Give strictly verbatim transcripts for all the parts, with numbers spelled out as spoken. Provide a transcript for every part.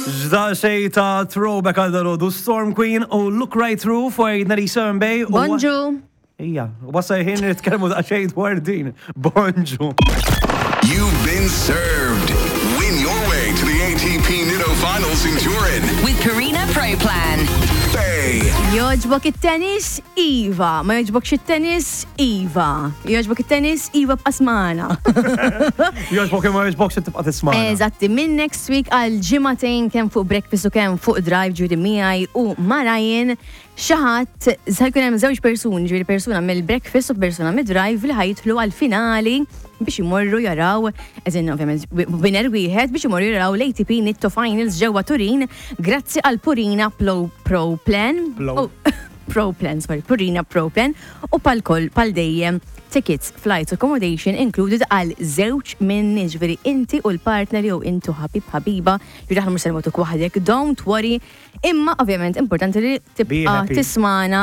Ġda xej ta' throwback għal dalodu Storm Queen u Look Right Through for ninety-seven Bay. u- Bonġu. Ija, wasal ħin nitkellmu da' xejn dwar din. Bonġu. You've been served. Win your way to the A T P Nitto Finals in Turin. With Purina Pro Plan. Bay. Joġbok it-tennis, iva. Ma joġbokx it-tennis, iva. Joġbok it-tennis, iva, ibqa' ismagħna. Joġbok imma joġbok se tibqa' tisma'. Eżatti, minn next week għal ġimagħtejn, kemm fuq Breakfast u kemm fuq Drive, ġifieri miegħi u ma' Ryan, xi ħadd se jkun hemm żewġ persuni, ġifieri persuna mill-Breakfast u persuna mid-Drive li ħa jitilgħu għal-finali biex imorru jaraw, eżin ovvjament winner wieħed, biex imorru jaraw l-A T P Nitto Finals ġewwa Turin grazzi għal Purina Pro, Pro Plan. Pro. Oh, Pro Plan, sorry, Purina Pro Plan u pal-koll pal dejjem tickets, flights, accommodation included għal żewġ minn, ġifieri inti u l-partner jew intu ħabib ħabiba, ġifieri aħna mhux se nmutuk waħdek, don't worry. Imma ovvjament importanti li tibqa' happy. tismagħna,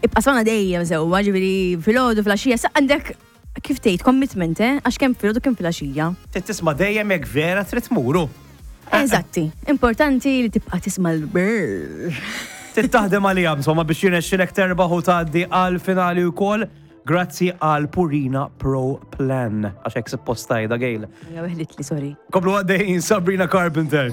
ibqa' ismagħna dejjem sewwa, ġifieri filgħodu, filgħaxija, sa għandek kif tgħid commitment, eh? Għax kemm filgħodu kemm filgħaxija. Trid tisma' dejjem jekk vera trid tmuru. Eżatti, importanti li tibqa' tisma' l-brr. Trid taħdem għalija, insomma, biex jirnexxilek terbaħ u tgħaddi għal finali wkoll. Grazzi għal Purina Pro Plan. Għax hekk suppost tgħidha, Gail. Ja, weħlitli, sorry. Komplu għaddejjin Sabrina Carpenter.